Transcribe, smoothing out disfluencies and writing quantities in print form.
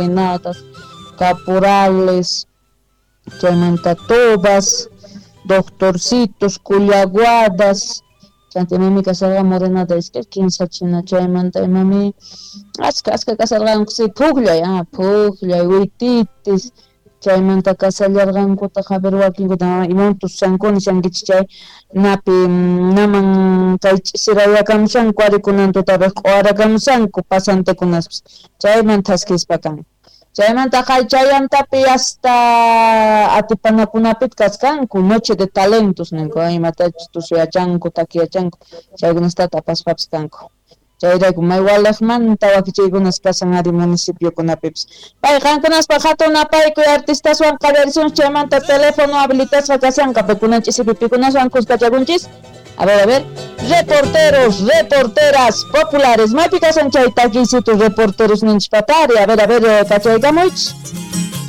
Morenadas, caporales, chaymanta tobas, doctorcitos, cullaguadas, chanta imami kasharqa morenada iskay kinsa china, chaymanta imami achka achka kasharqanku si pukllay, pukllay, wititis, chaymanta kasallarqankutaq a ver wakinkuta iman tusankuna nishankichik chay napi naman kay ch'isirayakamushanku ari kunan tutapiq q'uwarakamushanku pasantekunaspis chayman thaskispa kan. Chaymanta chaymantapi hasta atipanakunapita kachkanku noche de talentos ninku imatachus tusuyachanku takiyachanku chaykunastata apaspapis kanku. Chayrayku may waliqmanta wakichiykunas kashan ari municipiokunapipis. Pay qankunaspaq hatun napaykuy artistaswan qallarisunchik chaymanta teléfono habilitasqa kashanqa pikunan ch'isipi pikunaswan kuskachakunchis. A ver, a ver. Reporteros, reporteras populares. Maypi kashan chay takiysitu reporteros ninchik patari. A ver, kachaykamuychis.